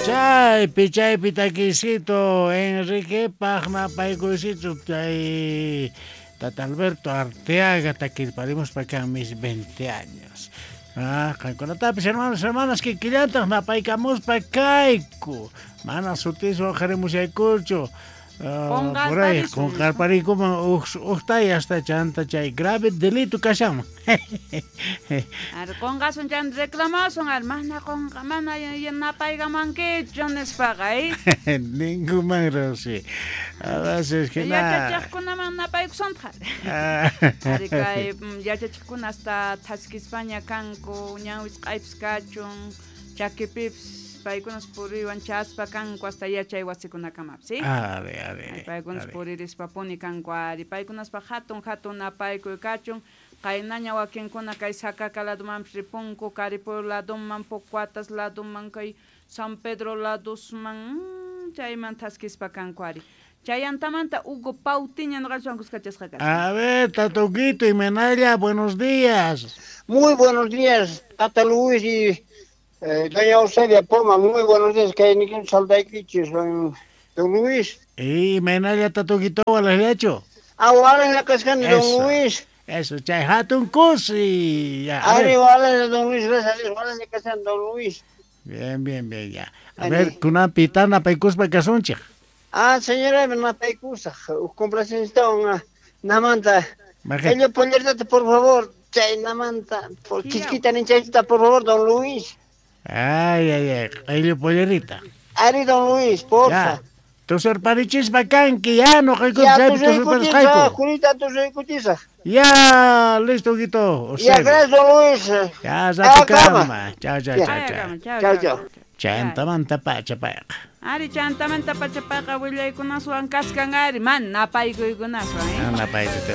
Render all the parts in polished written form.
Chaypi, chaypi takisito, Enrique napaykuysito, chay Tata Alberto Arteaga takirparimuspa kan mis 20 años. Ah, qankunatapis hermanos, hermanas, kikillantaq napaykamuspa kayku. Mana sutiswan qharimushaykuchu. Por ahí, qonqarpariykuman uqtay hasta chanta chay grave delito kashanman. Ari qonqasun chanta reclamasun ari mana qonqa mana napaykamankichu nispaqa eh. Ninkuman Rosy. A veces que Yachachiqkunaman napaykusuntaq. Ari kay yachachiqkuna hasta thaskispaña kanku ñan wisq'aypis kachun chakipipis paykunas puriywan chaspa kanku hasta yachay wasikunakamapis, ¿sí? Ari, ari. Paykunas puririspapuni kanku ari. Paykunaspaq hatun hatun napaykuy kachun. Qaynaña wakinkuna kay Sacaca ladomanpis ripunku, Caripur ladoman, Pocuatas ladoman, kay San Pedro ladosman, chayman thaskispa kanku ari. Chayantamanta Hugo Pautiña noqanchis kuskachasqa kasqa. A ver, Tato Huguito y Menaya, buenos días. Muy buenos días, Tata Luis y doña Eusebia Poma, muy buenos días, que hay saldaykichis, don Luis. Y Menaya Tato Huguito, walallachu. Ah, wala kasqani, don Luis. Eso, chay hatun kusi. Ari, wala, don Luis, gracias a Dios, wala kasqani, don Luis. Bien, bien, bien, ya. A ver, kunanpi napaykuspa kasunchik. Ah, señora, napaykusaq, uj complacencia namanta. Ello pollertate, por favor, chay namanta, por chiquita ni chayta, por favor, don Luis. Ay, ay, ay, ello pollerita. Ari, don Luis, porfa. Tusurparichispa kanki, ya, no ya, tusurparisqayku. Julita, tusurkuchisaq. Ya, listo, Guito. Ya, gracias, don Luis. Ya, ratukama. Chao, chao, chao, chao. Chao, chao. Chantamanta pacha payqa. Ari, chantamanta pacha payqa willaykunaswan kaskan ari, man napaykuykunaswan, eh. Napaykuyta.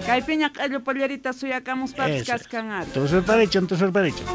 Kaypiña q'ello pollerita suyakamuspapis kaskan ari. Tusurparichan, tusurparichan.